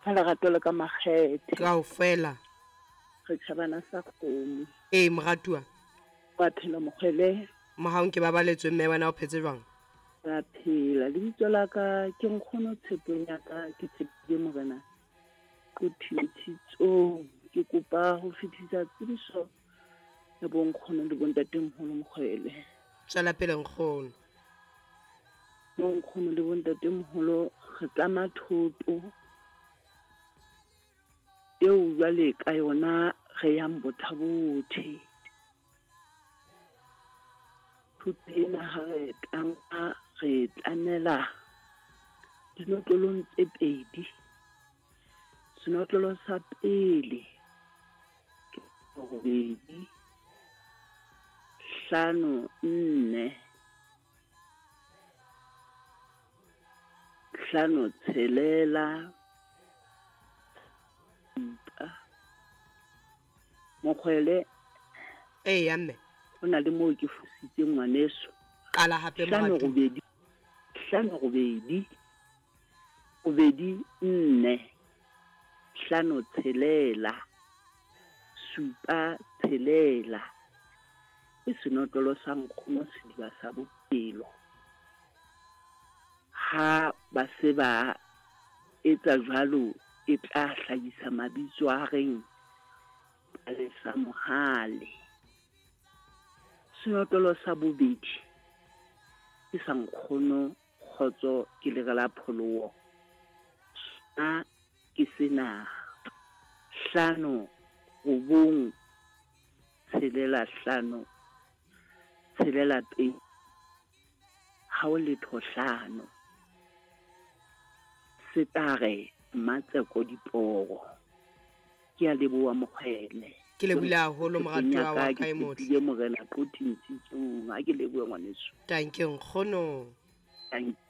Ka lerato le ka makgethe. Kaofela. Re tjhabana sa kgomo. Ee, moratuwa. Wa phela mokgwele. Mohaung ke babaletswe mme wena o phetse jwang? Ra phela. Lebitso la ka ke nkgono tshepong ya ka ke tshepile morena Qothintshitsong. Ke kopa ho fetisa tsebiso ya bonkgono le bontatemoholo mokgwele. Tswela pele nkgono. Bonkgono le bontatemoholo re tlama thoto eo jwale ka yona re yang Botha-Bothe. Thoto ena ha re tlama re tlamela dinotlolong tse pedi. Senotlolo sa pele ke robedi hlano nne hlano tshelela supa. Mokgwele. Eya mme. Ho na le moo ke fositseng ngwaneso. Qala hape Hlano moratuwa. robedi hlano robedi robedi nne hlano tshelela supa tshelela. Ke senotlolo sa nkgono sediba sa bophelo. Ha ba se ba etsa jwalo e tla hlahisa mabitso a reng Palesa Mohale. Senotlolo sa bobedi ke sa nkgono Kgotso ke lere la pholoho. Sona ke sena, hlano robong tshelela hlano tshelela pedi hao letho hlano. Se tla re Mmatseko diporo. Ke a leboha Mokgwele. Ke lebohile haholo moratuwa wa ka e motle. Ke Morena Qothi Ntsitsong. Ha ke lebohe ngwaneso. Tanke nkgono. Tanke.